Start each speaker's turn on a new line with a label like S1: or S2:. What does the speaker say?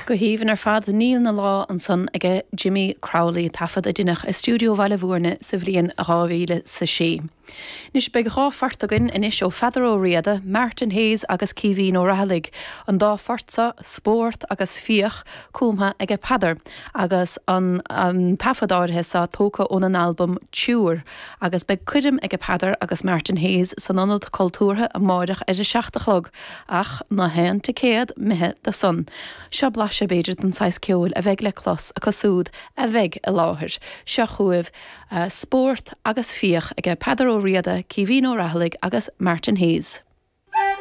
S1: Go haoibhinn ar fad, Níl 'na Lá ansan aige Jimmy Crowley, taifead a deineadh i stiúideo Bhaile Bhúirne sa bhliain 2006. Anois beidh dha phort againn anois ó Pheadar Ó Riada, Martin Hayes agus Caoimhín Ó Raghallaigh. An dá phort so, Spórt agus Fiach, cumtha aige Peadar agus an taifead áirithe so tógtha óna n-albam Triúr. Agus beidh coirm aige Peadar agus Martin Hayes san Ionad Cultúrtha amáireach ar a seacht a chlog, ach ná haon ticéad imithe do san. Seo blaiseadh b'fhéidir den saghas ceoil a bheidh le clos acu súd a bheidh i láthair. Seo chugaibh Spórt agus Fiach aige Peadar Ó Riada, Caoimhín Ó Raghallaigh agus Martin Hayes.